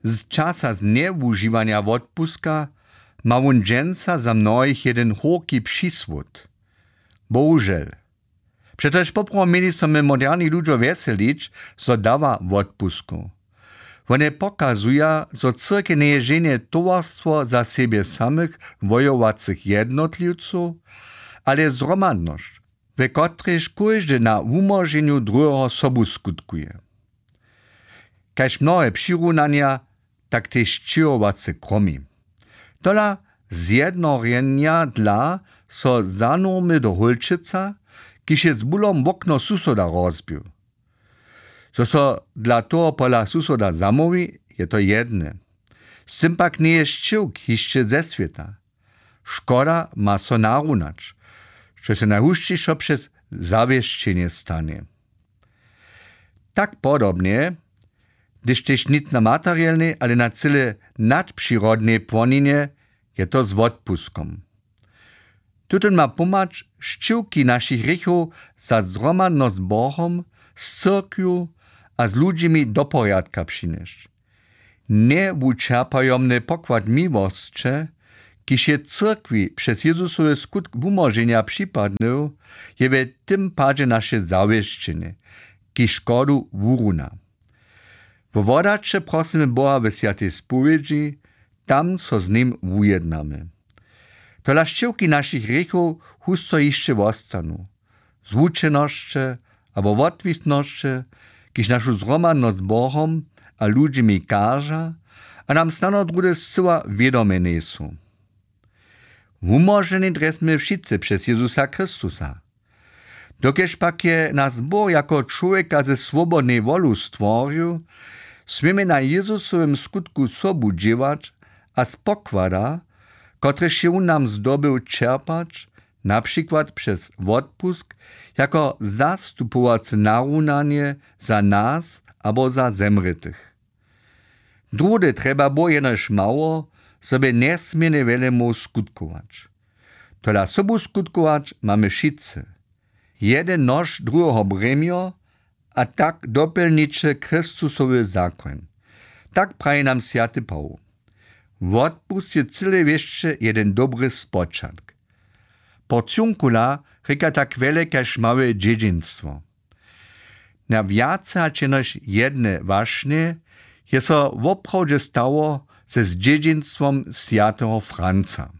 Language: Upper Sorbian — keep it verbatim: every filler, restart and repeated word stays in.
Z časa z njewužiwanja wotpuska ma wón dźensa za mnohich jedyn hórki přisłód. Bohužel. Přetož poprawom měli so my moderni ludźo wjeselić, zo dawa wotpuskow. Wone pokazuja, zo cyrkej njeje ženje towarstwo za sebje samych wojowacych jednotliwcow, ale zhromadnosć, we kotrejž kóždy na wumóženju druheho sobu skutkuje. Kaž mnohe přirunanja, tak tež sćěhowace kromi. Tola zjednorjenja dla so zanurmy do hólčeca, kiž je z bulom wokno susoda rozbił. Zo so dla toho pola susoda zamołwi, je to jedne. Z tym pak njeje sćěwk hišće ze swěta. Škoda ma so narunać, što se najhušćišo přez zawěsćenje stanje. Tak podobnje, hdyž tež nic na materielnej, ale na cyle nadpřirodnej płoninje, je to z wotpuskom. Tutón ma pomhać, sćěwki našich hrěchow za zhromadnosć z Bohom, z cyrkwju a z ludźimi do porjadka přinjesć. Njewučerpajomny pokład miłosće, kiž je cyrkwi přez Jezusowy skutk wumóženja připadnył, je w tym padźe naše zawěsćenje, kiž škodu wuruna. Wo wodaće prosymy Boha we swjatej spowědźi, tam so z nim wujednamy. Tola sćěwki našich hrěchow husto hišće wostanu. Zwučenosće abo wotwisnosće, kiž našu zhromadnosć z Bohom a ludźimi kaža a nam snano druhdy scyła wědome njejsu. Wumóženi drjesmy wšitcy přez Jezusa Chrystusa. Dokelž pak je nas Bóh jako čłowjeka ze swobodnej wolu stworił, směmy na Jezusowym skutku sobu dźěłać a z pokłada, kotryž je wón nam zdobył, čerpać, na přikład přez wotpusk, jako zastupowace narunanje za nas abo za zemrětych. Druhdy trjeba Bóh jenož mało, zo by njesměrnje wjele móhł skutkować. Tola sobu skutkować mamy wšitcy. Jedyn nož, druheho brěmjo, a tak dopjelniće Chrystusowy zakoń. Tak praji nam swjaty Pawoł. Wotpust je cyle wěsće jedyn dobry spočatk. Porciunkula rěka tak wjele kaž małe dźědźinstwo. Na wjace hač jenož jedne wašnje je so woprawdźe stało ze zdźědźinstwom swjateho Franca.